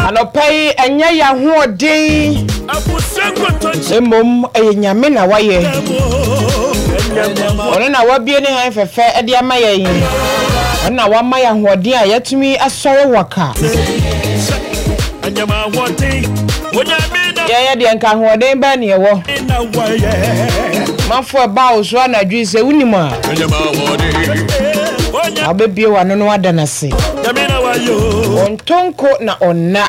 Anɔpa yi, ɛnyɛ yɛn ahoɔden, mmom ɛyɛ Nyame na wayɛ. Ɔno na wabue ne hann fɛfɛ de ama yɛn. Ɔno na wama yɛn ahoɔden a yɛatumi asɔre waka. Yɛyɛ deɛ nka ahoɔden bɛn ne yɛwɔ. Manfo ɛbaa wo so anadwo yi sɛ wonim a, wabɛbue w'ano na wada no ase. Ɔntɔ nko na ɔnna.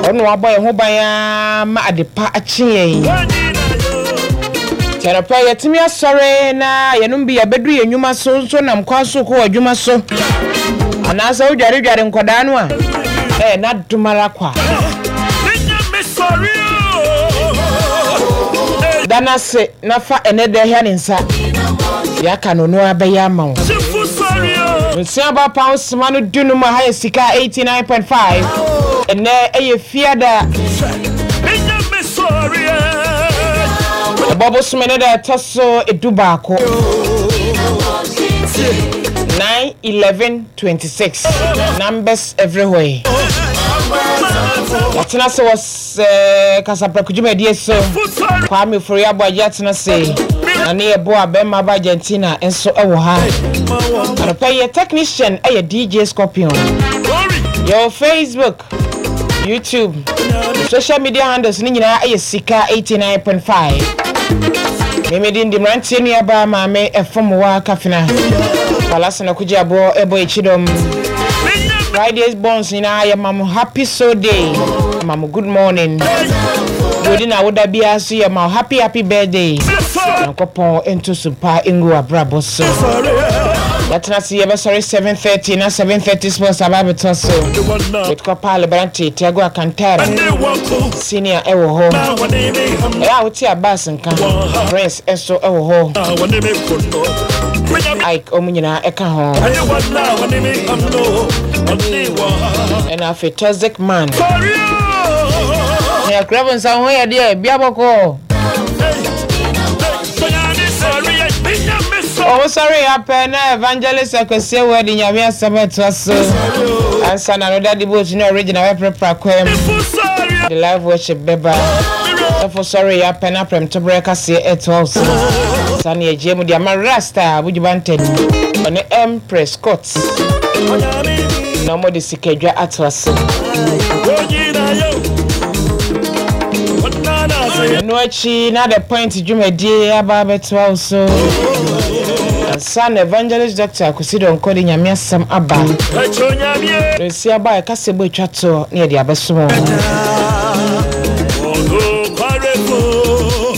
Ɔno wabɔ yɛn ho ban ara ma adepa akye yɛn. Nti anɔpa yi yɛatumi asɔre na yɛnom bi yɛabɛduru yɛn nnwuma so nso nam kwan so kɔ adwuma so. Anaasɛ wodwaredware nkwadaa no a, ɛyɛ n'adom ara kwa. Da no ase na fa ɛnnɛ da hia ne nsa. Deɛ aka no ɔno ara bɛyɛ ama wo. Nsia ba pound sima no dunum aha yɛ sika 89.5. Ɛnnɛ ɛyɛ fiada. Ɛbɔ bosome ne da ɛtɔ so 11. 9 11 26 numbers everywhere. Yɛatena ase wɔ kasaprɛko dwumadie so. Kwame Ofori Aboagye atena ase na ne yɛboa bɛrima ba Argentina nso wɔ ha. Anɔpa yi yɛ technician yɛ DJ Scorpion. Yɛwɔ Facebook, YouTube, social media handles no nyinaa yɛ Sika 89.5. Meme din de mmeranteɛ nuabaa maame ɛfom wa kafena. Falasana kugye aboɔ ɛbɔ akyidɔm. Fridays bonds nyinaa yɛ ma mo happy so day. Ma mo good morning. Deɛ na woda biara so yɛ ma happy happy birthday. Nyankopɔn nto so pa ngu abrabɔ so. Yɛatena ase yɛbɛsɔre 7:30 na 7:30 sports aba abɛtɔ so. With Kɔpa Lebrante, Tiago Alcantara, senior ɛwɔ hɔ. Ɛyɛ a wote Abbas nka, Prince nso ɛwɔ hɔ. Ike ɔmo nyinaa ɛka ho. Ɛna afei Toxic Man. Na yɛkura bo nsa ho yɛ deɛ bia bɔkɔɔ. Ɔmo sɔre yɛ apɛ na Evangelist Akwasi Awuah de Nyame asɛm ɛtoa so. Ansa na no Daddy Boat ne Original bɛprapra kwan mu de live worship bɛba. Sɔfo sɔre yɛ apɛ na prɛmtoberɛ kaseɛ ɛtoa wo so. Saa ne yɛgyeɛ mu de ama Rasta Abuju Banton ɔne Empress Scott na ɔmo de sikadwa atoa so. Ɛno akyi na The Point dwumadie aba abɛtoa wo so. Ansa na Evangelist Doctor Kwesi Donkor de Nyame asɛm aba. Nsi aba a ɛka sɛ bɔ atwa toɔ na yɛde abɛsom wo.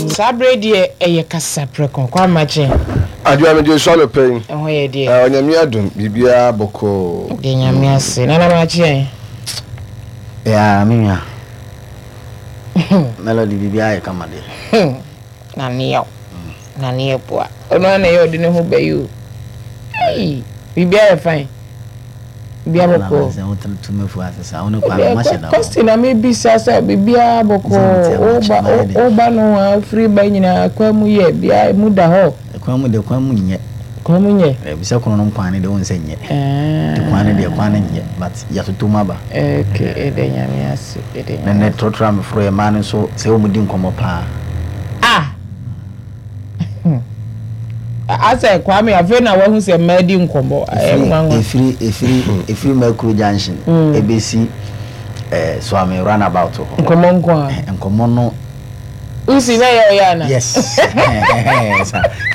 Saa berɛ yi deɛ ɛyɛ kasa prɛko. Kwame Makye. Adwoa megye so anɔpa yi. Ɛho yɛ deɛ. Onyame adom biribiara bɔkɔɔ. Deɛ Nyame ase. Nana Makye. Yeah, me nua. Melody biribiara yɛ kama deɛ. Na ne yaw. Na ne yɛ boa. Ɔno ara na ɛyɛ ɔde ne ho bɛyɛ o. Ei, biribiara yɛ fine. Biribiara bɔkɔɔ. Question na mebisa sɛ biribiara bɔkɔɔ. Woba woba no a wofiri ba nyinaa kwan mu yɛ bia mu da hɔ. Kwan mu deɛ kwan mu nyɛ. Kwan mu nyɛ. Bisa kwan no kwan no deɛ wohu sɛ nyɛ. Nti kwan no deɛ kwan no nyɛ but yɛatoto mu aba. Okay, yɛda Nyame ase, yɛda Nyame ase. Nɛnɛ trɔtrɔ a meforo yɛ mmaa no nso sɛ wɔn di nkɔmmɔ paa. Ah! Asɛ Kwame afei na wahu sɛ mmaa di nkɔmmɔ, ɛyɛ nwanwa. Efiri efiri efiri Mercury junction ebesi eh, Suame runabout hɔ. Nkɔmmɔ nko a. Nkɔmmɔ no. Usi na ɛyɛ ɔyɛ ana? Yes.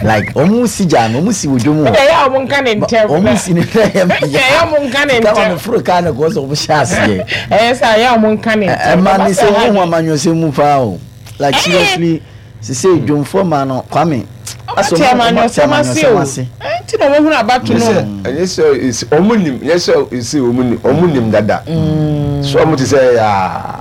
Like ɔmo si gya no, ɔmo si wɔ dwom hɔ. Ɛyɛ a ɔmo nka ne ntɛm. Ɔmo si ne ntɛm yɛ. Ɛyɛ ɔmo nka ne ntɛm. Kama me foro kaa no kɔ sɛ ɔmo hyɛ aseɛ. Ɛyɛ sɛ ɛyɛ ɔmo nka ne ntɛm. Ɛma ne sɛ ɔmo ho amanyɔsɛm mu paa o. Like seriously, sese dwomfoɔ ma no Kwame. Ɔmo te amanyɔsɛm ase o. Nti na ɔmo hunu abato no. Ɛnyɛ sɛ ɔmo nim, ɛnyɛ sɛ ese ɔmo nim, ɔmo nim dada. So ɔmo te sɛ yaa.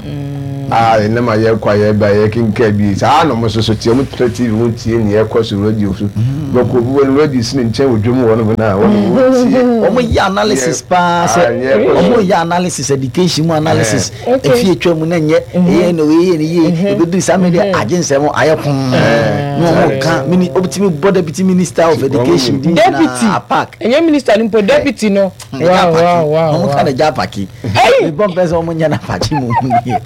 A ɛnam a yɛkɔ a yɛba yɛkenkan bi saa na ɔmo nso so te, ɔmo tena TV ho tie nea ɛkɔ so radio so. Bɛkɔ obi wɔ no radio si ne nkyɛn wɔ dwom wɔ nom na wɔn wɔtie. Wɔn yɛ analysis paa sɛ wɔn yɛ analysis education mu analysis efi etwa mu na nyɛ ɛyɛ na oyɛ ne yie ebedu saa mi deɛ agye nsɛm ayɛ pon na wɔn ka mini obitumi bɔ deputy minister of education di nyinaa apak. Ɛnyɛ minister no mpo deputy no. Wow wow wow. Wɔn ka na gya apaki. Mebɔ mpɛ sɛ wɔn nyɛ na apaki mu yie.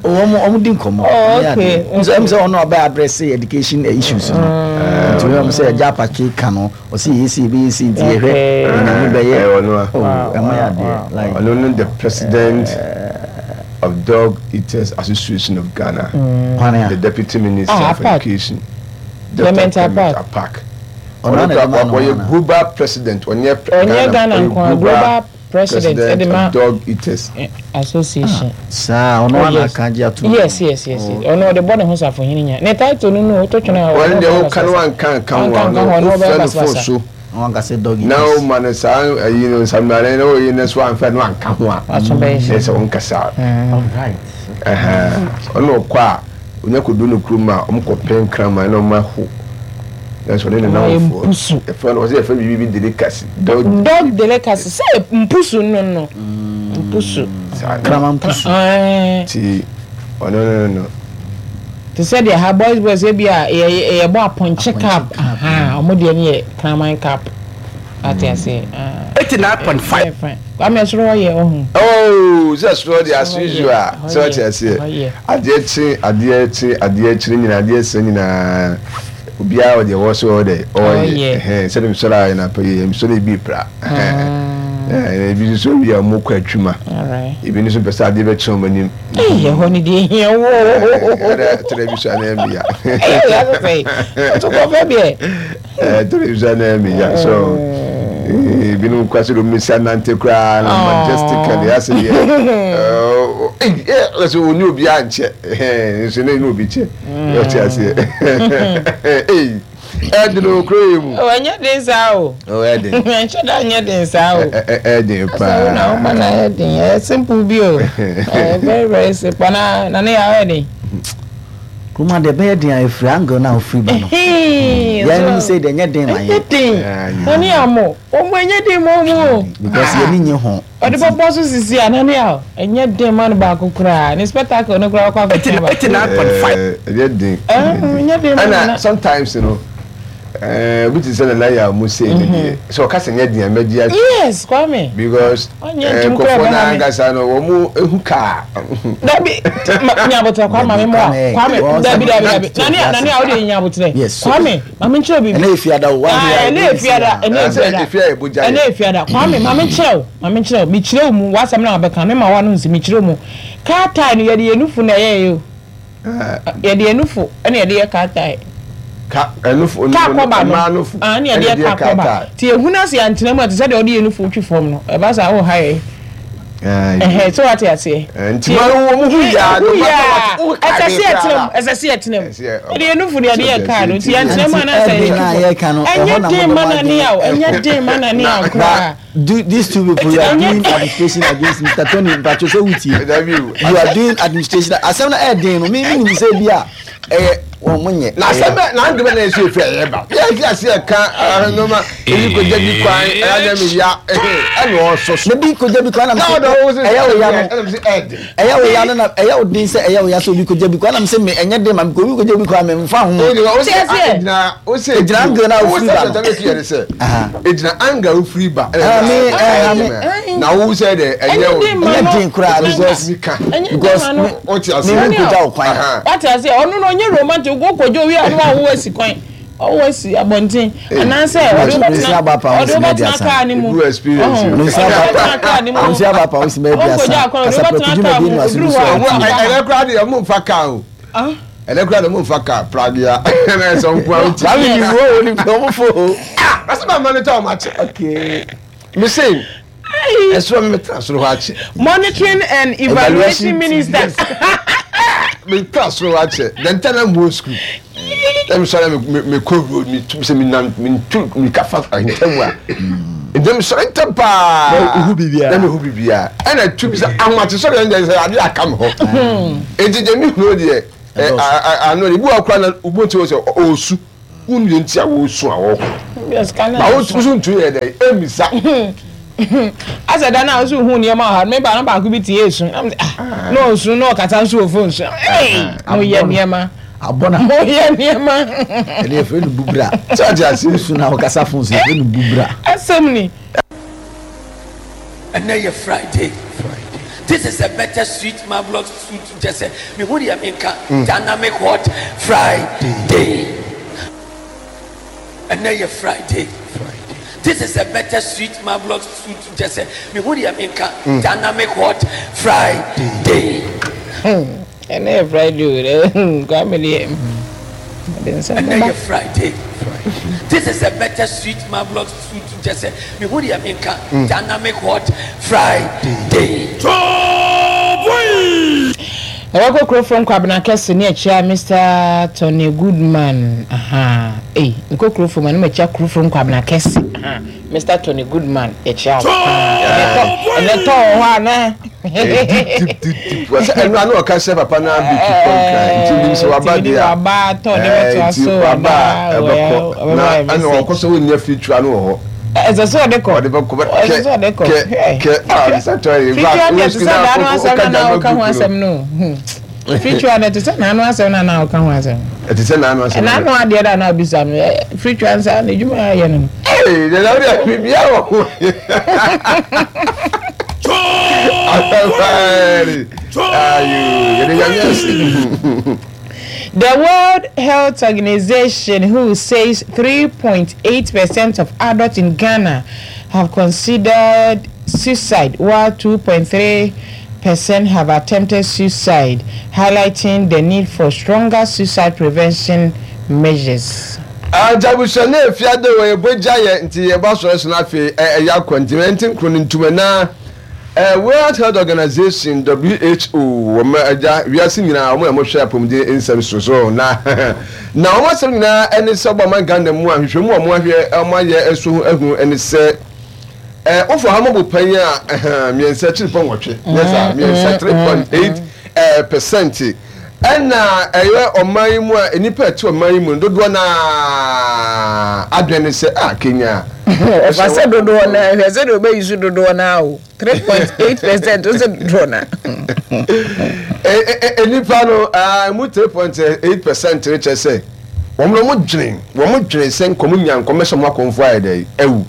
Wɔn wɔn di nkɔmɔ. Oh okay. Nso ɛmu sɛ wɔn na ɔbɛ address education issues no. Nti wɔn sɛ gya apaki ka no ɔsi yɛ esi ebe esi nti yɛ hwɛ ɛnyame bɛyɛ. Ɔno a. Oh ɛmo yɛ adeɛ like. Ɔno no the president of Dog Eaters Association of Ghana. The deputy minister of education. Dr. Clement Apaak. Ɔno kura ɔyɛ global president ɔnyɛ Ghana ɔyɛ global president of dog eaters association. Saa ɔno ana aka agye ato mu. Yes yes yes ɔno ɔde bɔ ne ho safohene nya ne title no no wotɔ twene a. Ɔno deɛ woka no wanka nka ho a ɔno wofrɛ no phone so. Wɔn kasa dog eaters. Na o ma no saa ayi no nsamrane na oyi no so anfɛ no anka ho a. Waso bɛyɛ hyɛ. Sɛ wɔn kasa. All right. Ɔno ɔkɔ a. Onya kodu ne kurom a, wɔkɔpɛ nkraman na wɔaho. Nanso ɔne ne nnamfoɔ. Mpusu. Yɛfrɛ no, wɔsɛ yɛfrɛ biribi bi delicacy. Dog. Dog delicacy. Sɛ mpusu no no. Mpusu. Kraman mpusu. Ti ɔno no no. Te sɛ deɛ ha boys boys ebi a yɛbɔ apɔnkye cup. Wɔn deɛ no yɛ kraman cup. Ate aseɛ. 89.5. Kwame ɛsoro hɔ yɛ ɔho. Oh sɛ soro deɛ as usual sɛ ɔte aseɛ adeɛ kye adeɛ kye adeɛ kyere nyinaa adeɛ sɛ nyinaa obiara wɔ deɛ wɔ so ɔwɔ dɛ ɔyɛ ɛhɛn sɛde mesɔre a yɛn apɛ yɛ mesɔre ebi pra ɛhɛn ebi nso so wia ɔmo kɔ atwuma ebi nso pɛ sɛ adeɛ bɛkyerɛ ɔmo anim. Ɛyɛ hɔ ne deɛ ehia wo. Ɛdɛ tẹrɛ bi so anaa mi ya. Ɛyɛ yɛ asɛ ɔtɔ kɔfɛ biɛ. Television na ɛmi ya so ebinom kura sɛ ɔmo si anante koraa na majestically asɛ deɛ ɛɛ ɛsɛ oni obi ankyɛ ɛɛ nso ne ne obi kyɛ ɔte aseɛ ɛɛ ɛden o kuro yɛ mu. Ɛnyɛ den saa o. Ɛden. Ɛnhyɛ da nyɛ den saa o. Ɛden paa. Asɛ wo na wo ma na ɛyɛ den ɛyɛ simple bi o ɛyɛ very very simple na na ne yɛ ayɛ den. Kuruma deɛ ɛbɛyɛ den a ɛfiri angle no a wofiri ba no. Yɛn sɛ deɛ ɛnyɛ den ma yɛn. Ɛnyɛ den. Nane amo. Ɔmo ɛnyɛ den ma ɔmo o. Because yɛn ni nye ho. Ɔde bɔbɔ so sisi a nane a ɛnyɛ den ma no baako koraa. Ne spectacle no koraa ɔkɔ akɔtena baako. 89.5. Ɛnyɛ den. Ɛnyɛ den ma no. Ɛna sometimes no obi te sɛ Nana Yaw mu sei no deɛ sɛ ɔka sɛ nyɛ den a mɛgye ato. Yes Kwame. Because nkurɔfoɔ no ankasa no wɔn ehu kaa. Dabi nyabotrɛ Kwame maame mu a Kwame dabi dabi dabi nani a nani a o de nyabotrɛ Kwame maame nkyerɛ bibi. Ɛnɛ efiada o. Ɛnɛ efiada ɛnɛ efiada ɛnɛ efiada Kwame maame nkyerɛ o maame nkyerɛ o mi kyerɛ o mu wasɛm na wabɛka mi ma wa no nsi mi kyerɛ o mu kaa tae no yɛde yɛ nufu na ɛyɛ yɛ o. Yɛde yɛn nufu na yɛde yɛ car tyre. Ka ɛnufo Car kɔba no. mmaa nufu Ah, ne yɛde yɛ car kɔba. Ti ehunu ase yɛantena mu a te sɛ deɛ ɔde yɛn nufu twi fam no. Ɛba saa wo ha yɛ. Ɛhɛ, sɛ wate aseɛ. Nti ma wɔn ho yaa no ma wo ɛsɛ sɛ yɛtena mu, ɛsɛ sɛ yɛtena mu. Yɛde yɛn nufu na yɛde yɛ car no. Nti yɛantena mu anaasɛ yɛtwi fam. Ɛnyɛ den ma nane a o, ɛnyɛ den ma nane a koraa. Do these two people you are doing administration against Mr. Tony Mpacho sɛ wutie you are doing administration asɛm na ɛyɛ den no mi mi nim sɛ bi a ɛyɛ wɔn mo nyɛ. Na asɛm bɛ na adi bɛ na yɛ efi ɛyɛ ba yɛ fi ase ɛka nneɛma ebi ko gya bi kwan ɛyɛ na mi ya ɛna ɔsɔ so. Na bi ko gya bi kwan na mi sɛ ɛyɛ o ya no ɛyɛ o ya no na ɛyɛ o den sɛ ɛyɛ o ya sɛ obi ko gya bi kwan na mi sɛ mi ɛnyɛ den ma mi ko obi ko gya bi kwan mi nfa ho. Egyina angle na ofiri ba no. Egyina angle ofiri ba. Na wo sɛ dɛ ɛnyɛ o. Ɛnyɛ den koraa because because me me nkogya wo kwan. Wate ase ɔno no ɔnyɛ romantic wo kogya owi a no awo asi kwan ɔwo asi abɔnten anaasɛ ɔde wobɛtena ɔde wobɛtena kaa ne mu ɔbɛtena kaa ne mu nsi aba pa osi mɛ bi asa kasapɛ dwumadie no aso bi so ɛnɛ koraa deɛ ɔmo nfa kaa o. Ɛnɛ koraa deɛ ɔmo nfa kaa pragea ɛnɛ sɛ ɔmo koraa ɔmo ti. Kwame ni wo o ni ɔmo fo o. Ah ɛsɛ ma monitor ɔmo akyɛ. Okay. Me se ɛsoro mi tena soro hɔ akyɛ. Monitoring and evaluation minister. Me tena soro hɔ akyɛ. Dɛn tɛ na mo school. Ɛmi sɔrɔ mi mi kɔ road mi tu sɛ mi nam mi tu mi ka fa ntɛm a. Ntɛm sɔrɔ ntɛm paa. Na ohu biribiara. Na mi hu biribiara. Ɛna tu bi sɛ ahomakye sɔrɔ yɛn deɛ sɛ ade aka mi hɔ. Eti deɛ mi hu deɛ ano ebi wɔ kora na obi ti wɔ sɛ ɔɔsu. Wonu deɛ nti a wɔresu a wɔreko. Ba wo nso ntumi yɛ dɛ ɛmmisa. Asɛ da no a woso hu nneɛma wɔ ha no me ba no baako bi tie esu na ah na ɔsu na ɔkasa nso wɔ phone so ee moyɛ nneɛma abɔ na moyɛ nneɛma. Ɛne yɛfrɛ no bubra. Sɛ ɔte ase. Wosu na ɔkasa phone so yɛfrɛ no bubra. Asɛm ni. Ɛnɛ yɛ Friday. This is a better sweet marvelous sweet kyɛ sɛ mehu deɛ menka dynamic hot Friday. Ɛnɛ yɛ Friday. This is a better sweet marvelous sweet kyɛ sɛ mehu deɛ menka dynamic hot Friday. Ɛnɛ yɛ Friday o dɛ Kwame deɛ ɔde nsɛm Ɛnɛ bɛba. yɛ Friday. This is a better sweet marvelous sweet kyɛ sɛ mehu deɛ menka dynamic hot Friday. Yɛbɛkɔ Kurofrom Kwabena Kɛse ne akyia Mister Tony Goodman ahaa ei mekɔ Kurofrom a na makyia Kurofrom Kwabena Kɛse ahaa Mister Tony Goodman yɛkyia wo paa ɛnɛ tɔ ɛnɛ tɔ wɔ hɔ anaa. Deep deep deep wɔsɛ ɛno ano ɔka sɛ papa no abɛtu kɔ nkran nti nim sɛ waba deɛ a waba tɔ ne bɛtoa nti so waba a ɛbɛkɔ na ɛna ɔkɔ sɛ wɔnnya firitua no wɔ hɔ. Ɛsɛ sɛ ɔde kɔ. Ɔde bɛkɔ bɛ Ɛsɛ sɛ ɔde kɔ. kɛ kɛ a bisa tɔ yi. Firitua deɛ te sɛ n'ano asɛm na na ɔka ho asɛm no. Firitua deɛ te sɛ n'ano asɛm na na ɔka ho asɛm. Ɛte sɛ n'ano asɛm. N'ano adeɛ na na ɔbisa no. Firitua nsa n'adwuma ayɛ no. Ee deɛ na ɔde biribiara wɔ ho. Ayo yɛde nyame ase. The World Health Organization, WHO, says 3.8 percent of adults in Ghana have considered suicide, while 2.3 percent have attempted suicide, highlighting the need for stronger suicide prevention measures. Agya abusua na efi ade wɔ yɛbɔ gya yɛ nti yɛbɔ asɔre so na afei ɛyɛ akɔ nti ɛnti nkuro no ntum na World Health Organization, WHO, wɔn agya wiase nyinaa wɔn na wɔhwɛ apɔmuden nsɛm so so na na wɔn asɛm nyinaa ɛne sɛ ɔbɔ ɔman Ghana mu a nhwehwɛmu a wɔn ahwɛ wɔn ayɛ nso ho ahu ɛne sɛ ɛɛ wofa ha mɔbo pan a ɛhɛn mmiɛnsa akyiri pɔ nwɔtwe nyɛ saa mmiɛnsa 3.8 ɛɛ percent Ɛna ɛyɛ ɔman yi mu a nnipa a ɛte ɔman yi mu no dodoɔ no ara adwene ne sɛ ah Kenya. Ɛfa sɛ dodoɔ no ara hwɛ sɛdeɛ ɔbɛyi so dodoɔ no ara o 3.8 percent wo sɛ dodoɔ no ara. Nnipa no ɛmu 3.8 percent no kyerɛ sɛ wɔn no wɔn dwene wɔn dwene sɛ nkɔm nya nkɔm bɛsɛ wɔn akɔmfo ayɛ dɛ awu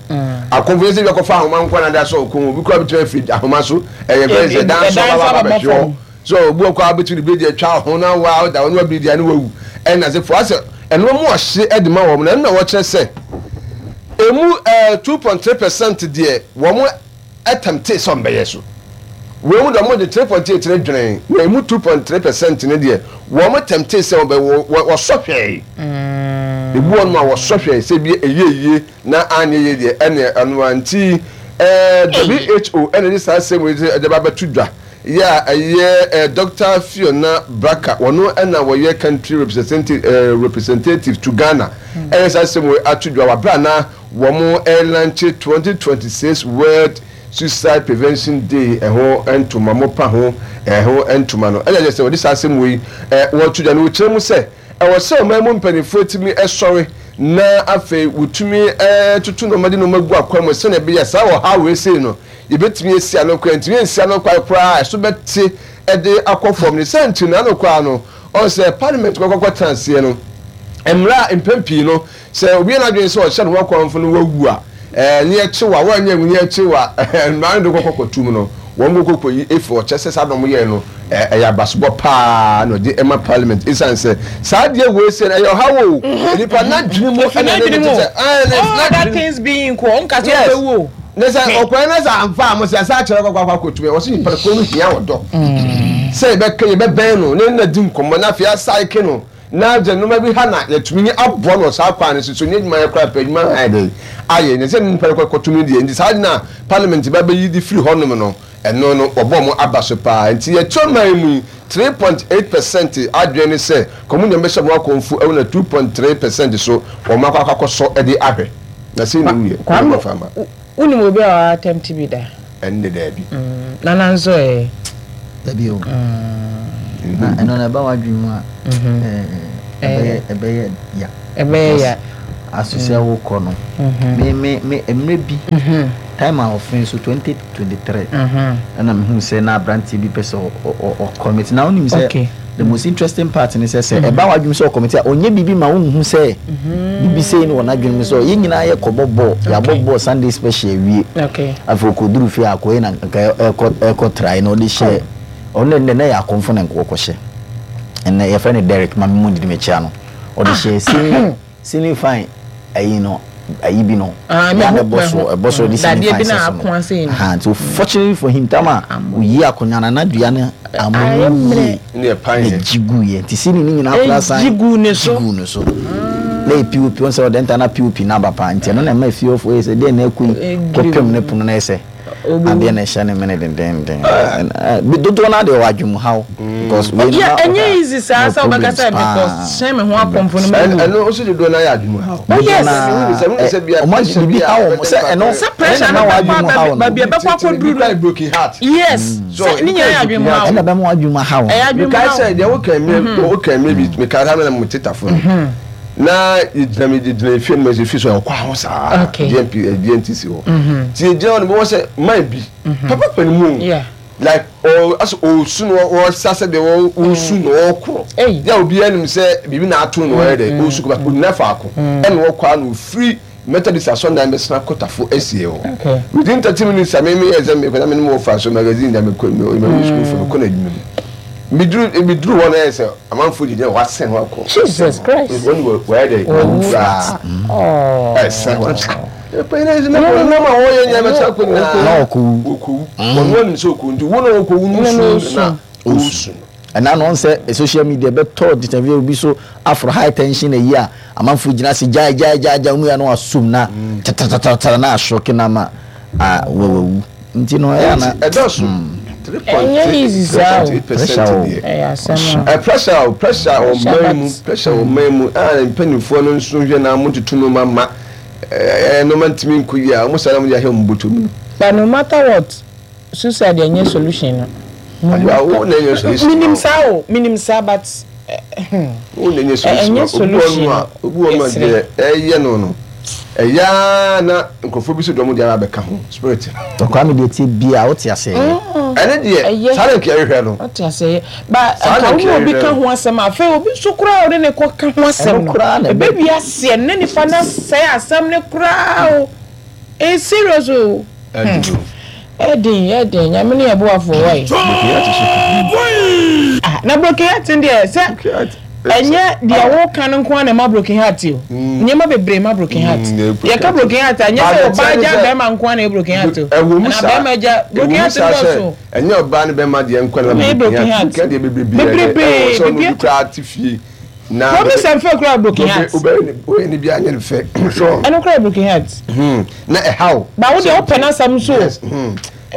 akɔmfo yɛ sɛ bi akɔfa ahoma nko na de asɔ ɔkɔn obi kura bitumi afiri ahoma so ɛyɛ fɛn sɛ dan so ɔba ba bɛhwɛ hɔ. So obi wɔ kɔ a wobɛtumi de biredi atwa ho na wa ɔda hɔ na wabiredi a na wawu ɛna ase fo asɛ ɛno mu ɔhye de ma wɔn na ɛno na wɔkyerɛ sɛ emu ɛɛ 2.3% deɛ wɔn ɛtɛmte sɛ wɔn bɛyɛ so wɔn mu deɛ wɔn de 3.8 no dwene na emu 2.3% no deɛ wɔn tɛmte sɛ wɔn bɛ wɔ wɔsɔ hwɛe ebu wɔn a wɔsɔ hwɛe sɛ bi ɛyɛ yie na anyɛ yie deɛ ɛne ɛno a nti ɛɛ WHO ɛna de saa asɛm yi de ba bɛto dwa. Yɛ a ɛyɛ Dɔkta Fiona Barker, wɔno na wɔyɛ Country Representative to Ghana, ɛyɛ saa asɛm wei ato dwa wɔ aberɛ a na wɔn ɛrelanche 2026 World Suicide Prevention Day ɛho ntoma, mopa ho ɛho ntoma no. Ɛna kyerɛ sɛ wɔde saa asɛm wei wɔto dwa no, wɔkyerɛ mu sɛ ɛwɔ sɛ ɔman mu mpanimfoɔ tumi sɔre na afei wɔtumi toto nneɛma de nneɛma gu akwan mu sɛdeɛ ɛbɛyɛ saa ɔhaw wei sei no Yebetumi asi ano koraa, yentumi nsi ano kwan koraa a ɛso bɛte de akɔ fam. Ne saa nti no, ano koraa no, ɔn sɛ Parliament kɔkɔ kɔtena aseɛ no, mmara a mpɛn pii no, sɛ obi yɛ n'adwene sɛ ɔhyɛ ne ho akɔmfo no wawu a, ɛɛ ne yɛkye wo a, woanyɛ anwu ne yɛkye wo a, mmara no de kɔkɔ kɔtum no, wɔn kɔkɔ kɔyi efi hɔ. Kyerɛ sɛ saa na wɔyɛɛ no, ɛyɛ abasobɔ paa na ɔde ma Parliament esiane sɛ saa adeɛ wei sei no, ɛyɛ ɔhaw o, nnipa n'adwene mu Efi ɛna ne n'adwene ne mu te o. sɛ, ɛɛ ne All other n'adwene mu. things being equal, ɔnka sɛ Yes. ɔbɛwu o. Ne sɛ ɔkwan na sɛ amfa a mo sɛ asa akyerɛ kɔkɔ akɔ akɔtumi wɔ sɛ nipa koro no hia ɔdɔ sɛ yɛbɛka yɛbɛbɛn no ne na di nkɔmmɔ na afei asaeke no na gye nneɛma bi ha na yɛtumi ne aboa no wɔ saa kwan no so so nyɛ adwuma yɛ koraa pɛ adwuma ayɛ dɛ ayɛ ne sɛ nipa no kɔtumi deɛ nti saa na parliament ba bɛyi de firi hɔnom no ɛno no wɔbɔ mo aba so paa nti yɛte ɔman mu yi 3.8% adwene ne sɛ kɔmu bɛhyɛ mo akɔmfo ɛwɔ na 2.3% so wɔn akɔ akɔsɔ de ahwɛ na sɛ na wuyɛ Kwame, wɔn fa ma. Wonim obi a ɔa attempt bi da? Ɛnde daabi. Nana nso ɛ? Dabi o. Na ɛno na ɛba w'adwene mu a. Ɛbɛyɛ ɛbɛyɛ ya. Ɛbɛyɛ ya. Aso sɛ wokɔ no. Me me me mmerɛ bi time a ɔfee so 2023 ɛna mehu sɛ na aberanteɛ bi pɛ sɛ ɔcommit na wonim sɛ the most interesting part ne sɛ sɛ ɛba w'adwene sɛ ɔcommit a ɔnyɛ biribi ma wonhu sɛ biribi sei ne wɔ n'adwene mu sɛ yɛn nyinaa yɛkɔbɔ bɔɔl yɛabɔ bɔɔl Sunday special awie afei ɔkɔduru fie a akɔyɛ na nka ɛkɔ ɛkɔ trae na ɔde hyɛ Ɔno ndɛ na yɛ akɔmfo na nkɔkɔhyɛ. Ndɛ yɛfrɛ no Derrick ma me mu ndidi mekyia no. Ɔde hyɛ ceiling ceiling fan ayi no ayi bi no. Ah, Yɛ a na mehu ɛbɔ soro mehu. ɛbɔ soro de ceiling Dadeɛ fan bi na sɛ so no. akoa sei no. Ahaa nti fortunately for him tam a oyi akonnwa no na dua no Ayɛ amono mmerɛ. yie Ne ɛpan na yɛ. gye guiɛ nti ceiling no nyinaa koraa san Egye guu ne gye so. guu ne so. Na yɛ POP wɔn sɛ ɔde nta na POP no aba paa nti ɛno na ɛma efie hɔfoɔ yɛ sɛ deɛ na ɛkɔ yi kɔpem ne pono na ɛsɛ. Adeɛ na ɛhyɛ ne mene dendenden. Dodoɔ no ara deɛ ɔwɔ adwemuhaw. Because wei no na ɛnyɛ easy saa sɛ wobɛka sɛ mekɔ hyɛn me ho akɔmfo no mawu. Ɛno nso dodoɔ no ara yɛ adwemuhaw. Oh yes. Ɔmo adwene biribi haw wɔn sɛ ɛno sɛ pressure no bɛkɔ baabi ɛbɛkɔ akɔduru no. Broken heart. Yes. Sɛ ne nyinaa yɛ adwemuhaw. Ɛna ɛbɛma w'adwemuhaw. Ɛyɛ adwemuhaw. Mekae sɛ deɛ woka mmerɛ woka mmerɛ bi mekae sɛ na mo tetafo no. Na yɛgyina me yɛgyina efie no mu ɛsɛ so ɛkɔ aho saa GNP GNTC hɔ ti yɛgyina hɔ no bɛwɔ sɛ man bi papa pɛ no mu like ɔ asɛ ɔsu no ɔsa sɛ deɛ ɔsu na ɔkorɔ yɛ obiara nim sɛ biribi na ato no ɔyɛ dɛ ɔsu kɔ ɔnyina faako ɛna ɔkɔ a na ɔfiri Methodist asɔndan bɛsena kotafo asie hɔ within 30 minutes a meme yɛ sɛ mekɔ na mene mo fa so magazine da mekɔ mekɔ sukuu fo mekɔ na adwuma mu meduru meduru hɔ na yɛ sɛ Amanfoɔ gyinagyina hɔ asɛn hɔ akɔ. Jesus Christ. Wɔn wɔ wɔyɛ dɛ wɔwu koraa. Ɛsɛn hɔ. Ɛpɛ yɛn ɛsɛ na wɔn nam a wɔyɛ nyɛ bɛsɛ akɔ nyinaa. Na ɔkɔwu. Ɔkɔwu. Wɔn wɔn nim sɛ ɔkɔwu nti wɔn a ɔkɔwu no su na ɔsu. Ɛna no sɛ social media bɛtɔ interview obi so afro high tension ayi a amanfoɔ gyina ase gyae gyae gyae gyae wɔn yɛ no asom na tatatata na asɔke na ama wawu. Nti no ɛyɛ ana. Ɛdɔɔso. Ɛnyɛ easy saa o. Pressure o. Ɛyɛ asɛm a. Pressure o pressure wɔ man mu pressure wɔ man mu a mpanyinfoɔ no nso hwɛ na wɔn tutu nneɛma ma ɛɛ nneɛma ntumi nkɔ yie a wɔn saa na wɔn de ahwɛ wɔn bɔtɔ mu. But no matter what suicide ɛnyɛ solution no. Ayiwa wo na ɛnyɛ solution. Minim saa o minim saa but. Wo na ɛnyɛ solution ɛnyɛ solution no obi wɔ no a deɛ ɛyɛ no no ɛyɛ ara na nkurɔfoɔ bi so deɛ wɔn de ara bɛka ho spirit. Kwame deɛ tie bia wote aseɛ yɛ. Ɛne deɛ saa na nka yɛhwehwɛ no. Wote aseɛ yɛ ba nka wo ne obi ka ho asɛm a afei obi nso koraa a ɔne ne kɔ ka ho asɛm no ɛbɛwie aseɛ no ne nipa no asɛe asɛm no koraa o. It's serious o. Ɛden ɛden nyame ne yɛ boafo wai. Ah na broken heart deɛ sɛ ɛnyɛ deɛ woka no nko ara na ɛma broken heart o. Nneɛma bebree ma broken heart. Yɛka broken heart a ɛnyɛ sɛ ɔbaa gya bɛrima nko ara na ɛyɛ broken heart o. Anaa bɛrima gya broken heart dɔɔso. Ɛnyɛ ɔbaa ne bɛrima deɛ nko ara na ɛma broken heart. Broken heart deɛ bebree ɛwɔ sɛ ɔno bi koraa te fie. Na Promise and fail koraa broken heart. Wobɛyɛ ne bi anyɛ no fɛ. So. Ɛno koraa broken heart. Na ɛhaw. Ba wo deɛ wopɛ n'asɛm nso. Yes.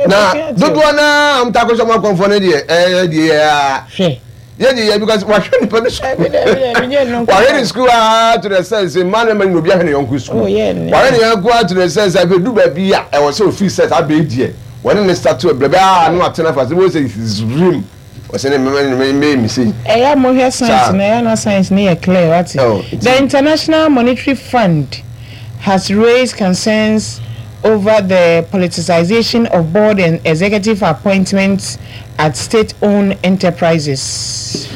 Na dodoɔ naa wɔn ta akɔsɔ wɔn akɔnfɔ no deɛ ɛyɛ deɛ yɛ aa. Hwɛ. Yɛ deɛ yɛ because wahwɛ nipa no sukuu. Wahwɛ ne sukuu aa to the sense mmaa ne mmarima nyina obi ahwɛ ne yɔnko sukuu. Wahwɛ ne yɔnko aa to the sense afei du baabi a ɛwɔ sɛ ofiri sɛ saa bɛyi deɛ wɔne ne start to brɛ bɛ aa no atena fa sɛ wɔn sɛ zrim. Ɔsɛ ne mmɛma ne mmɛyɛ me sei. Ɛyɛ a mohwɛ science no ɛyɛ a na science no yɛ clear wate. The International Monetary Fund has raised concerns over the politicization of board and executive appointments at state-owned enterprises.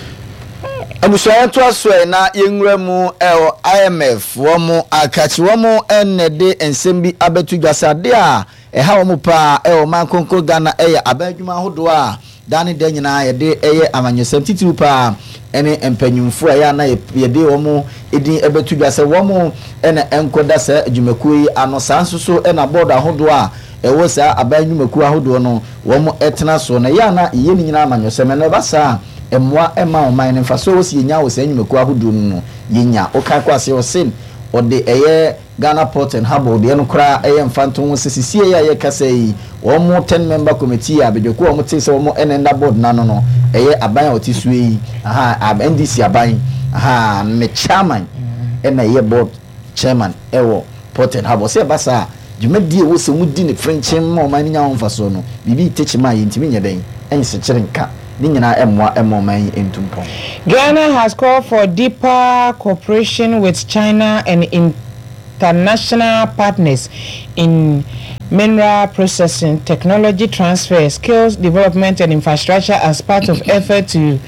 Abusua yɛntoa so ɛ na yɛnwura mu wɔ IMF wɔn akakye wɔn na ɛde nsɛm bi abɛto dwa sɛ adeɛ a Ɛha wɔn paa wɔ ɔman kronkron Ghana yɛ aban adwuma ahodoɔ a daa ne da nyinaa yɛde yɛ amanyɔsɛm titiriw paa ne mpanyimfoɔ a ɛyɛ a na yɛde wɔn din bɛto dwa sɛ wɔn na ɛnkɔda saa adwumakuo yi ano. Saa nso so na bɔɔdo ahodoɔ a ɛwɔ saa aban nnwumakuo ahodoɔ no wɔn tena soɔ na ɛyɛ a na yɛyɛ ne nyinaa amanyɔsɛm. Ɛno ɛba saa a mmoa mma ɔman no mfasoɔ a ɛwɔ sɛ yɛnya wɔ saa nnwumakuo ahodoɔ no mu no yɛnya. Wokan kɔ aseɛ ɔse ɔde ɛyɛ Ghana Port and Harbour deɛ no koraa ɛyɛ mfantoho sɛ sesiei a yɛrekasa yi wɔn ten member committee a badwakuo a wɔn tee sɛ wɔn na ɛnda board no ano no ɛyɛ aban a ɔte soɔ yi ahaa NDC aban ahaa ne chairman ɛna ɛyɛ board chairman ɛwɔ Port and Harbour sɛ ɛba saa a dwumadie a ɛwɔ sɛ wɔn di ne frenkyen ma ɔman no nya ho mfasoɔ no biribi rete kyema a yɛntumi nyɛ dɛn nsekyere nka. Ne nyinaa mmoa mma ɔman yi ntu mpɔn. Ghana has called for deeper cooperation with China and international partners in mineral processing, technology transfer, skills development and infrastructure as part of effort to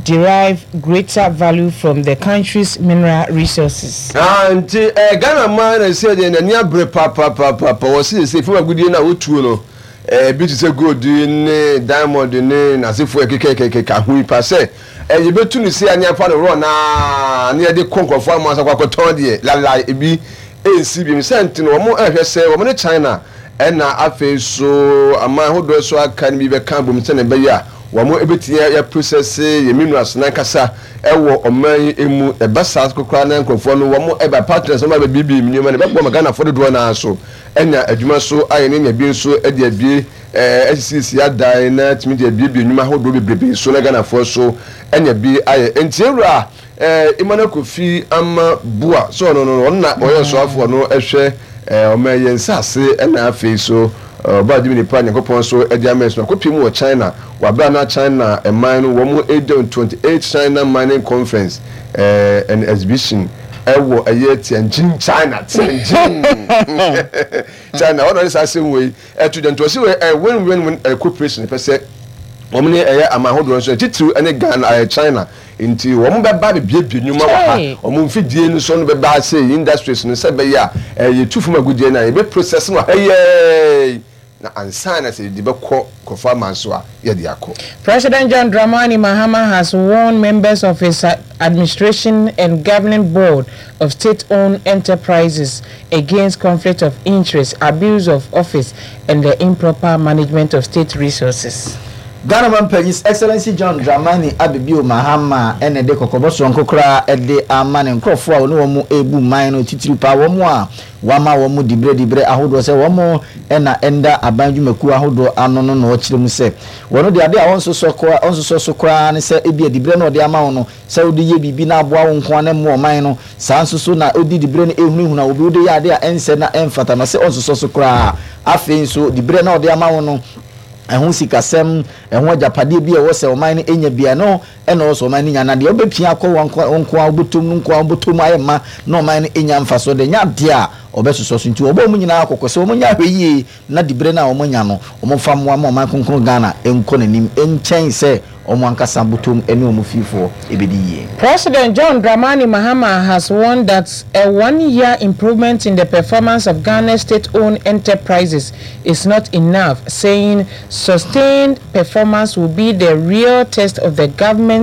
derive greater value from the country's mineral resources. Ah, nti eh, Ghana man na sɛ deɛ n'ani abere papaapapa wɔ se sɛ fam agudie no a wotuo no eh, bi te sɛ gold ne diamond ne n'asefoɔ ɛkekɛkɛkeka ho yi pa sɛ eh, yɛbɛtu no sei a ne afa no worɔ naa ne yɛde kɔ nkurɔfoɔ ama sɛ kɔakɔtɔn deɛ lalai ebi ɛnsi biom sɛ nti no wɔn ɛhwɛ sɛ wɔn ne China ɛna afei so aman ahodoɔ so aka no bi bɛka abom sɛnea ɛbɛyɛ a wɔn ɛbɛtumi yɛ process yɛ minerals nankasa ɛwɔ ɔman yi mu. Ɛba saa nso koraa na nkurɔfoɔ no wɔn ɛba partners wɔn abɛbiebie nneɛma no ɛbɛboa ma Ghanafoɔ dodoɔ no ara so anya adwuma so ayɛ ne anya bi nso de abie ɛɛ asisiesie adan na atumi de abiebie nnwuma ahodoɔ bebrebe so na Ghanafoɔ so anya bi ayɛ. Nti ewura ɛɛ Emmanuel Kofi Ama Boa so ɔno no ɔno na ɔyɛ ɔsoafoɔ no ɛhwɛ ɛɛ ɔman yɛn nsaase ɛna afei so ɔbaa adwuma nipa Nyankopɔn so ɛde ama ɛso akɔpie mu wɔ China Wɔ aber a na China man no wɔn 28 China Mining Conference and Exhibition wɔ ɛyɛ Tianjin, China, Tianjin, China, hɔ na ɔde saa asɛm wei ɛto dwa. Nti ɔsi wei ɛyɛ win win win ɛyɛ cooperation pɛ sɛ wɔn ne ɛyɛ aman ahodoɔ nso titiriw ɛne Ghana ɛyɛ China nti wɔn bɛba bebiebie nnwuma wɔ ha wɔn mfidie no so no bɛba ase industries no sɛ ɛbɛyɛ a ɛyɛ tu fam agudeɛ no a yɛbɛ process no ha yɛɛ. Na ansa na sɛ yɛde bɛkɔ nkurɔfoɔ aman so a, yɛde akɔ. President John Dramani Mahama has warned members of his administration and governing board of state-owned enterprises against conflict of interest, abuse of office and the improper management of state resources. Ghana Mampanyin His Excellency John Dramani Abebio Mahama na ɛde kɔkɔbɔ soronko koraa de ama ne nkurɔfoɔ a ɔne wɔn rebu man no, titiriw paa wɔn a Wɔama wɔn diberɛ diberɛ ahodoɔ sɛ wɔn na ɛnda aban dwumakuo ahodoɔ ano no na ɔkyerɛ mu sɛ wɔn deɛ adeɛ a wɔnsosɔ koraa wɔnsosɔ so koraa ne sɛ ebia diberɛ no a ɔde ama wo no sɛ wode yɛ biribi na aboa wo nko ara na ɛmmoa ɔman no saa nso so na ɔdi diberɛ no ɛhunahuna obi wode yɛ adeɛ a ɛnsɛ na ɛmfata no ɔse ɔnsosɔ so koraa afei nso diberɛ no a ɔde ama wo no ɛho sikasɛm ɛho agyapadeɛ bi a ɛwɔ sɛ ɔman no ɛnya bi a ɛno Ɛna ɔwɔ sɛ ɔman no nya, na deɛ ɔbɛpia akɔ wɔn nko wɔn nko ara bɔtɔm no nko ara bɔtɔ mu ayɛ ma na ɔman no anya mfasoɔ deɛ, ɛnyɛ adeɛ a ɔbɛsosɔ so. Nti wɔbɔ wɔn nyinaa kɔkɔ sɛ wɔnyɛ ahwɛyie na diberɛ no a wɔanya no, wɔmfa mmoa ma ɔman kronkron Ghana nkɔ n'anim nkyɛn sɛ wɔn ankasa bɔtɔm ne wɔn fiefoɔ bɛdi yie. President John Dramani Mahama has warned that a one-year improvement in the performance of Ghana's state-owned enterprises is not enough, saying sustained performance will be the real test of the government's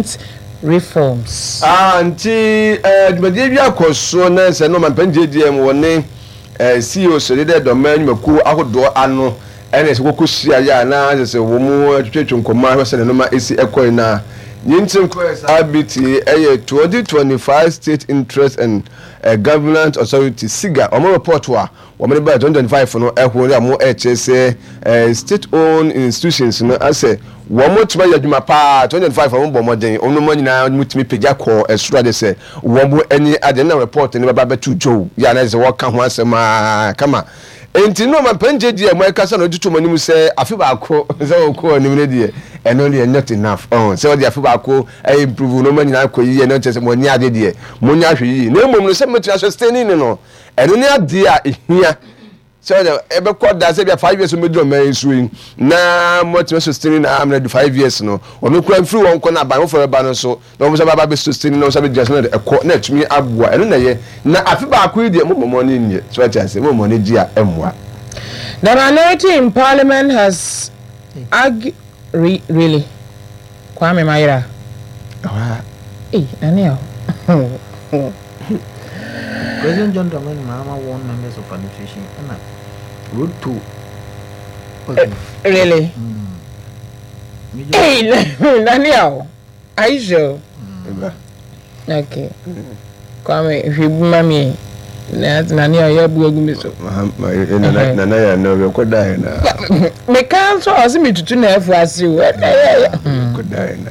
reforms. Ah, nti eh, dwumadie bi akɔ so na sɛ no ɔmampanin JDM wɔ ne eh, CEO so de dɛ dɔma nnwumakuo ahodoɔ ano ɛna sɛ kɔkɔ hyia yɛ a na sɛ sɛ wɔn mu twetwetwe nkɔmmɔ ahwɛ sɛ ne noma ɛsi ɛkɔe na ne nti nkɔɛ saa bi ti ɛyɛ 2025 State Interest and eh, Governance Authority SIGA wɔn report a Wɔn de baa 2025 no ɛho na wɔn ɛkyerɛ sɛ state owned institutions no asɛ wɔn tumi ayɛ adwuma paa 2025 wɔn bɔ mmɔden wɔn nneɛma nyinaa wɔn tumi pagya kɔɔ ɛsoro ade sɛ wɔn ani ade na report no bɛba bɛto dwow yɛ anaa sɛ wɔka ho asɛm aa kama nti no ɔmampanin gyegye a wɔn ɛkasa na ɔde to wɔn anim sɛ afe baako sɛ wɔkɔ anim no deɛ ɛno deɛ not enough ɔn sɛ wɔde afe baako ɛyɛ improve nneɛma nyinaa kɔ yie ɛno kyerɛ sɛ wɔn ani ade deɛ wɔn nyɛ ahwɛ yie na mmom no sɛ mɛtumi asustaining no Ɛno ne adeɛ a ɛhia sɛ ɔde ɛbɛkɔ da sɛ bia five years ɔmɛduru ɔman yi so yi na moatumi sustain na amena du five years no ɔno kura mfiri wɔn kɔ na aban foforɔ bɛba no nso na wɔn nso bɛba bɛ sustain na wɔn nso bɛgyina so na ɛkɔ na ɛtumi aboa ɛno na ɛyɛ na afe baako yi deɛ mo mmɔmɔ ne nyɛ so ate ase mo mmɔmɔ ne gye a ɛmmoa. The minority in parliament has argued Re really? Kwame Mayera. Ɛhɔ a. Ei, Nane a. President John Dramani Mahama warned members of administration ɛna road to. Okay. Really? Mm. Hey, Nane a. Are you sure? Mm. Okay. Kwame, hwɛ bi ma me. Na na ne ɔyɛ abu agu me so. Nana yɛ na ɔbɛkɔ dan na. Meka nso a ɔsɛ metutu na afu ase o. Kɔ dan na.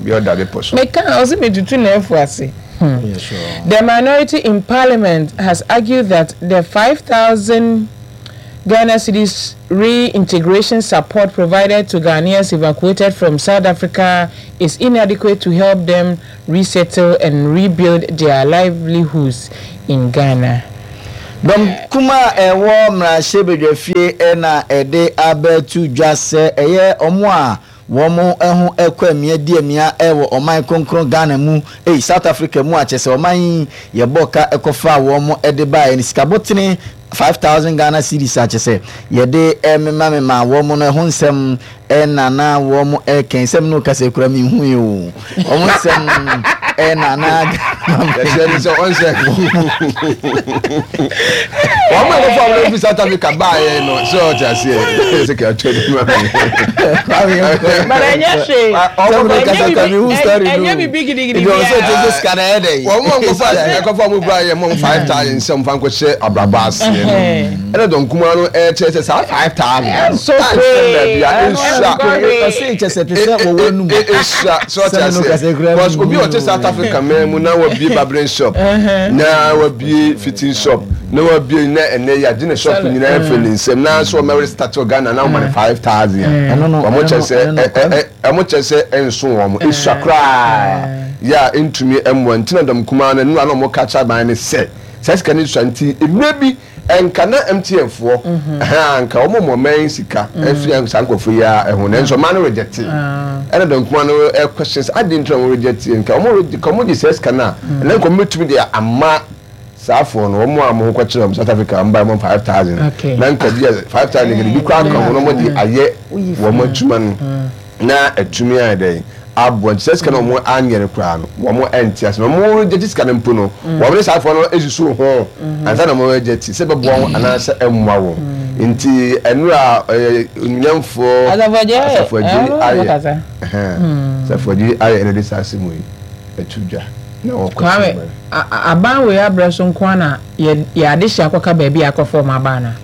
Bi ɔda bepɔ so. Meka ɔsɛ metutu na afu ase. The minority in parliament has argued that the 5,000. Ghana cedis reintegration support provided to Ghanaians evacuated from South Africa is inadequate to help them resettle and rebuild their livelihoods in Ghana. Dɔm kuma a ɛwɔ mmarahyɛbadwafie na ɛde abɛto dwa sɛ ɛyɛ wɔn a Wɔn ho kɔ amia di amia wɔ ɔman kronkron Ghana mu ei South Africa mu a kyerɛ sɛ ɔman yi yɛbɔɔ ka kɔfaa wɔn de baeɛ no sika botene 5000 Ghana cedis a kyerɛ sɛ yɛde mema memaa wɔn no ɛho nsɛm na na wɔn reka yi sɛ me ne wo kasa yi koraa menhui o wɔn nsɛm na na Yɛkyerɛ ne sɛ ɔnsɛ wɔn a wɔfa wɔn fi South Africa baayɛ no sɛ ɔte aseɛ sɛ kɛ atwa ne mu But ɛnyɛ hwee. Ɛnyɛ bibi gidigidi biara. Wɔn a wɔfa ɛkɔfa wɔn baayɛ mo 5000 sɛ wɔn fa nkɔhyɛ abrabɔ aseɛ no ɛna dɔn kumaa no ɛkyerɛ sɛ saa 5000 Ɛnso hwee. Ɛnsua ɛsua sɛ ɔte aseɛ because obi a ɔte South Africa man mu na wabie barbering shop na wabie fitting shop na wabie na ɛnɛ yɛ agye ne shop nyinaa afiri ne nsam na so ɔmɛ restart wɔ Ghana na ɔma ne 5000 a wɔn kyɛ sɛ wɔn kyɛ sɛ ɛnso wɔn esua koraa yɛ a ɛntumi ɛmmoa nti na dɔm kumaa no nnura na wɔn ka kyerɛ aban ne sɛ saa sika no sua nti mmerɛ bi Nka na MTN foɔ ɛhɛn anka wɔn mɔ mɛn sika ɛfiri saa nkorɔfoɔ yi ara ɛho nanso ɔman no rejecte ɛna dɔn kuma no ɛquestion sɛ adeɛ nti na wɔn rejecte nka wɔn nka wɔn gye saa sika no a ɛna nka wɔn bɛtumi de ama saa foɔ no wɔn a wɔn ho kɔkyerɛ wɔn South Africa wɔn ba wɔn 5000 na nka bi a 5000 nka bi koraa ka ho na wɔn de ayɛ wɔn adwuma no. Na atumi ayɛ dɛn aboa nti saa sika no a wɔn anyɛ no koraa no wɔn ɛnte ase na wɔn reject sika no mpo no wɔn ne saa afoɔ no esusu ho ansa na wɔn reject sɛ ɛbɛboa wɔn anaasɛ ɛmmoa wɔn nti ɛnura ɛyɛ onimnyamfoɔ Asafo Agyei ayɛ Asafo Agyei ayɛ ɛna de saa asɛm yi ɛto dwa na wɔkɔ Kwame, aban wei abrɛ so nko ara na yɛ yɛ adehye akɔka baabi a akɔfa wɔn aba anaa?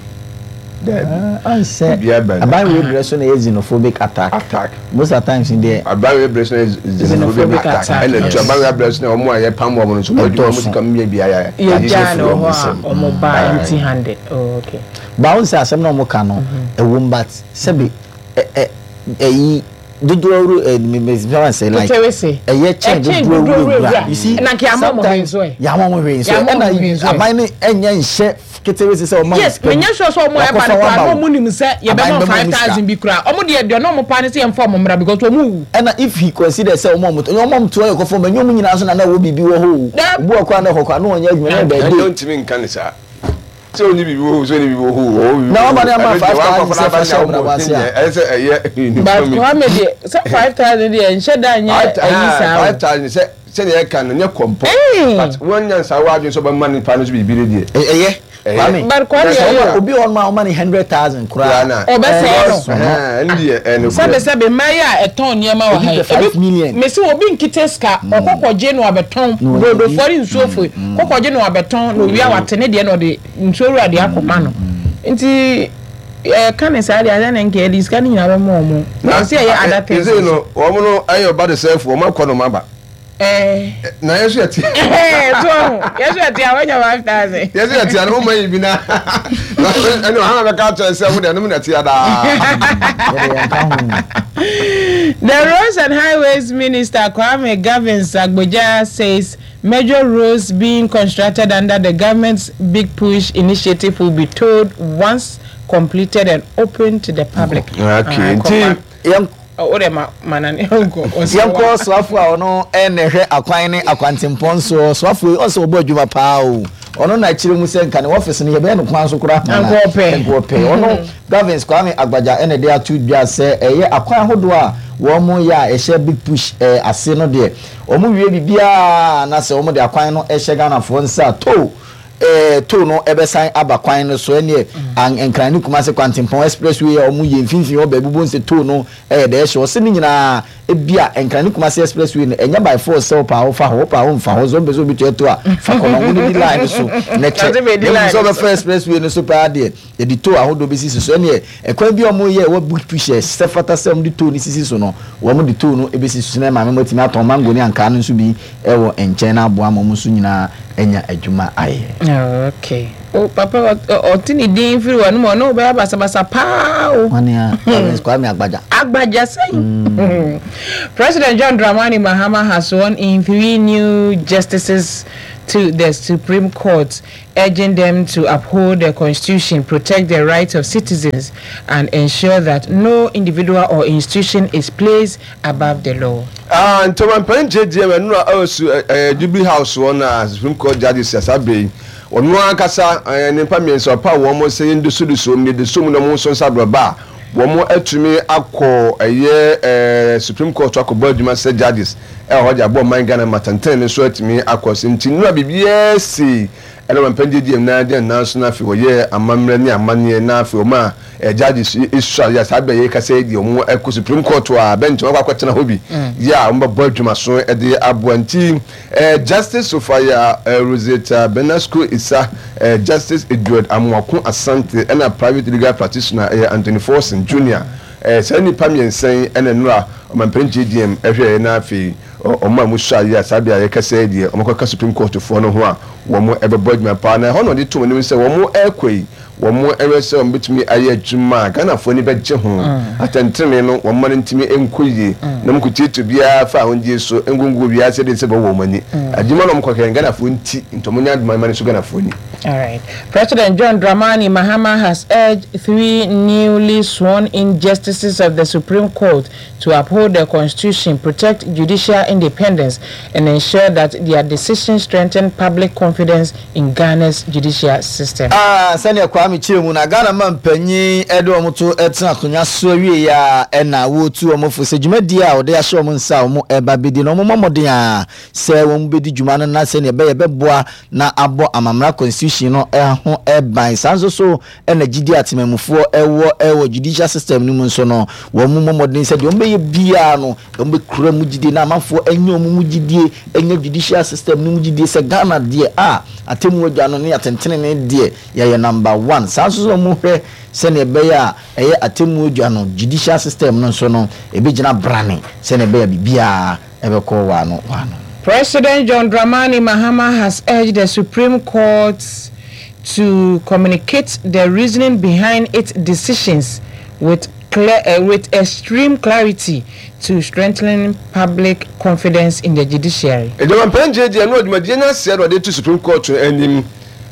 Daabi. Ɔnsɛ Biribiara ba aban wei brɛ so na ɛyɛ xenophobic attack. Attack. Most of times deɛ. Aban wei brɛ so na ɛyɛ xenophobic attack. Ɛna tu aban wei abrɛ so na wɔn a yɛpam wɔn no nso wɔn adwuma wɔn sika mmea bi ayɛ. Yɛgyaa no hɔ a wɔn ba empty handed. Oh okay. Ba wɔn sɛ asɛm na wɔn ka no ɛwom but sɛbi ɛ ɛ ɛyi. Dodoɔ wura ɛ me me fɛn sɛ like ɛyɛ kyɛn dodoɔ wura wura you see sometimes yàwọn mo hwee nso ɛna aban ne ɛnyɛ nhyɛ ketewa sɛ ɔmo yes menyɛ sure sɛ ɔmo ɛba no koraa na ɔmo nim sɛ yɛbɛma 5000 bi koraa ɔmo deɛ deɛ na ɔmo paa ne sɛ yɛmfa ɔmo mmra because ɔmo wu. Ɛna if he consider sɛ ɔmo ɔmo ɔmo ɔmo to ɛyɛ kɔfɔ ɔmo ɛnyɛ ɔmo nyinaa nso na na ɛwɔ biribi wɔ hɔ o obi wɔ koraa na ɛhɔ koraa na ɔnyɛ adwuma na ɛbɛɛ de. Ɛnyɛ ntumi nka ne saa. Sɛ ɔnni biribi wɔ hɔ sɛ ɔnni biribi wɔ hɔ o, ɔwɔ biribi Na wɔ hɔ wama o, ne ama ɛno deɛ 5000 wankɔfa sɛ n'aba fa ne hyɛ awɔ ɔbrabɔ ase ne a. deɛ ɛyɛ sɛ ɛyɛ But nifa mi. Kwame deɛ sɛ 5000 deɛ nhyɛ da nyɛ ayi saa o. 5000 sɛ sɛdeɛ ɛka no nyɛ kɔmpɔ but wɔnya nsa wɔ adwene sɛ ɔbɛma nipa no so biribi no deɛ. Ɛyɛ Ɛyɛ. Kwame. But Kwame Sɛ ɛyɛ ɔma o. obi wɔ hɔ nom a ɔma no 100,000 Koraa koraa na. Ɔbɛsɛe no. ɛnɔɔso no. Ɛhɛn, ɛno deɛ ɛyɛ nokorɛ. Sɛbe sɛbe mmaa yi a ɛtɔn nneɛma wɔ Obi ha yi pɛ 5 ebi million. mese obi nkita sika ɔkɔ kɔgye na wabɛtɔn Na wanya bi. brodofoɔ ne nsuofoɔ yi kɔ kɔgye na wabɛtɔn na owia wate ne deɛ na ɔde nsuo wura deɛ akɔma no nti yɛka ne saa deɛ asɛ ne nka yɛde sika no nyinaa bɛma wɔn Na ɛsɛ yɛyɛ other things ɛsei nso. no wɔn no ɛyɛ ɔba de sɛfo wɔn akɔ nom aba. Ɛɛ. Na yɛn nso yɛte. Ɛɛ so ɔho yɛn nso yɛte a wɔanya 5000. Yɛn nso yɛte a na wɔn ma yi bi na ɛne ɔhana bɛka akyerɛ sɛ mo deɛ nom na ɛte adaa. Yɛde yɛn ka ho. The Roads and Highways Minister Kwame Governs Agbodza says Major roads being constructed under the government's Big Push initiative will be tolled once completed and open to the public. Okay, nti Yɛn Oh, wode ma ma na ne nkɔ. Yɛnkɔ soafo a ɔno na ɛhwɛ akwan ne akwantempɔn soɔ. Soafo yi ɔsɛ ɔbɔ adwuma paa o. Ɔno na kyerɛ mu sɛ nka ne office no yɛbɛyɛ no kwan so koraa ma na Anka ɔpɛ. Anka ɔpɛ. Ɔno Gavins Kwame Agbagya na ɛde ato dwa sɛ ɛyɛ akwan ahodoɔ a wɔyɛ a ɛhyɛ Big Push ase no deɛ Wɔn wie biribiara na sɛ wɔn de akwan no hyɛ Ghanafoɔ nsa a, tow eh, tow no bɛsan aba kwan no so. Ɛneɛ an Nkran ne Kumasi kwantempɔn express way a wɔn yɛ mfimfini hɔ baabi wobɛhu sɛ tow no yɛ dɛ ɛhyɛ hɔ. Sɛ ne nyinaa ebia Nkran ne Kumasi express way no ɛnyɛ by force sɛ wopɛ a wofa hɔ, wopɛ a womfa hɔ. Sɛ wopɛ sɛ obi tua tow a, fa kɔ na wɔn di line no so na kyɛ. Ɔse bɛdi Na mmom line sɛ no so. wobɛfa express way no so paa deɛ, Yɛde tow ahodoɔ bɛsisi so. Ɛnneɛ, ɛkwan bi a wɔyɛ a ɛwɔ Big Push a ɛsɛ fata sɛ wɔde tow no sisi so no, wɔde tow no bɛsisi so na maame mo atumi atɔn mango ne ankaa no nso bi wɔ nkyɛn na aboa ma wɔn nso nyinaa anya adwuma ayɛ. Oh, okay. Oh, papa, ɔte ne din firi wɔ no mu, ɔne wobɛyɛ basabasa paa o. Ɔne a, Lawrence Kwame Agbagya. Agbagya sɛn? President John Dramani Mahama has sworn in three new justices to the Supreme Court, urging them to uphold the constitution, protect the rights of citizens, and ensure that no individual or institution is placed above the law. Ah, nti ɔmanpanin JGM ɛno a ɛwɔ su ɛɛ Jubilee House hɔ na Supreme Court judges saa bere yi ɔno ankasa ɛɛ nnipa mmiɛnsa ɔpaw wɔn sɛ yɛndosodoso wɔn yɛdoso mu na wɔn nso nsa abrɔba a wɔn atumi akɔ ɛyɛ ɛɛ Supreme Court akɔbɔ adwuma sɛ judges ɛwɔ hɔ de abɔ ɔman Ghana ma tɛntɛn no nso atumi akɔ so nti nnura biribiara si ɛna ɔmanpanin JGM na gyina nan so na afei wɔyɛ amammerɛ ne amanneɛ na afei wɔn a Judges yi sua yɛ saa bɛ yi kasa yi deɛ wɔn kɔ supreme court a bench wɔn akɔ akɔtena hɔ bi yɛ a wɔn bɛbɔ adwuma so de aboa nti Justice Sophia Rosetta Benasco Issa, Justice Edward Amoako Asante ɛna private legal practitioner ɛyɛ Anthony Forson Junior. Saa nnipa mmiɛnsa yi ɛna nnora ɔmanpanin JDM ɛhwɛɛ na afei wɔn a wɔsua yɛ a saa bɛ a yɛkasa yi deɛ wɔn akɔka supreme court foɔ no ho a wɔn ɛbɛbɔ adwuma paa na ɛhɔ na ɔde to wɔn anim sɛ wɔn ɛrekɔ yi Wɔhwɛ sɛ wɔbɛtumi ayɛ adwuma a Ghanafoɔ ani bɛgye ho. Atɛntenenee no, wɔmma no ntumi nkɔ yie na wɔnkɔtiatia obiara fa ahondie so ngungu obiara sɛdeɛ ɛsɛ bɛwɔ wɔn ani. Adwuma no a wɔkɔhwɛ no, Ghanafoɔ nti, nti wɔnyɛ adwuma mma no nso Ghanafoɔ ani. Alright. President John Dramani Mahama has urged three newly sworn-in justices of the Supreme Court to uphold the constitution, protect judicial independence, and ensure that their decisions strengthen public confidence in Ghana's judicial system. A Sɛnea Kwame kyerɛ mu no, Ghana mampanyin de wɔn to tena akonnwa so awiei a ɛna wɔretu wɔn fo sɛ dwumadi a wɔde ahyɛ wɔn nsa a wɔreba abedi no, wɔmmɔ mmɔden ara sɛ wɔbedi dwuma no na sɛnea ɛbɛyɛ ɛbɛboa na abɔ amammara constitution no ho ban. Saa nso so na gyidi a temanmufoɔ wɔ wɔ judicial system no mu nso no, wɔn mmɔ mmɔden sɛ deɛ wɔbɛyɛ biara no, wɔbɛkura mu gyidie na amanfoɔ anya wɔn mu gyidie, anya judicial system no mu gyidie sɛ Ghana deɛ a atemmuo adwa no ne atɛntenenee deɛ yɛyɛ number one. Saa nso na wɔhwɛ sɛdeɛ ɛbɛyɛ a ɛyɛ atemmuo adwa no, judicial system no nso no, ɛbɛgyina brane sɛdeɛ ɛbɛyɛ a biribiara ɛbɛkɔ waano waano. President John Dramani Mahama has urged the Supreme Court to communicate the reasoning behind its decisions with clear, uh, with extreme clarity to strengthen public confidence in the judiciary. Adwumampɛn gyinagyina no dwumadie no aseɛ na ɔde to Supreme Court no anim,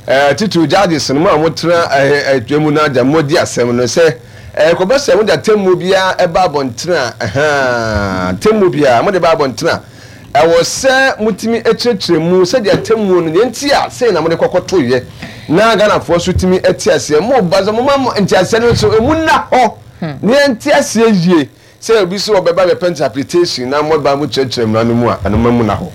titiriw judges no mu a wɔtena adwa mu no agya mmɔdi asɛm no sɛ ɛkɔba sɛ mode atemmuo biara ba abɔntene a, ahaa, atemmuo biara mode ba abɔntene a, Ɛwɔ sɛ motumi kyerɛkyerɛ mu sɛdeɛ atemmuo no, deɛ nti a sei na mode kɔkɔtoeɛ na Ghanafoɔ nso tumi te aseɛ. Mo ba sɛ moma mo nteaseɛ no nso ɛmu nna hɔ na yɛnte aseɛ yie. Sɛ obi sɛ ɔbɛba bɛpɛ interpretation na moba mo kyerɛkyerɛ mmara no mu a, ɛno ma mu nna hɔ.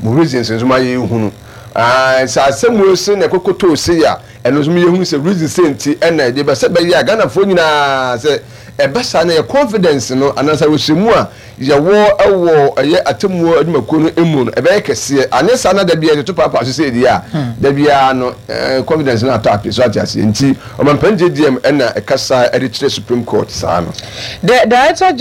Mo reasons nso ma yɛhunu. Sɛ asɛmmuo se na ɛkɔkɔtoo sei a, ɛno nso ma yɛhunu sɛ reason sei nti ɛna ɛde ba sɛ ɛbɛyɛ a Ghanafoɔ nyinaa sɛ ɛba saa na yɛ confidence no anaasɛ awerɛhyɛmu a yɛwɔ wɔ ɛyɛ atemmuo adwumakuo no mu no, ɛbɛyɛ kɛseɛ. Anyɛ saa na da biara yɛtoto paapaa so sei deɛ a, da biara no confidence no atɔ ape. So ate aseɛ? Nti Ɔmampanin JDM na ɛkasa de kyerɛ Supreme Court saa no. The Director.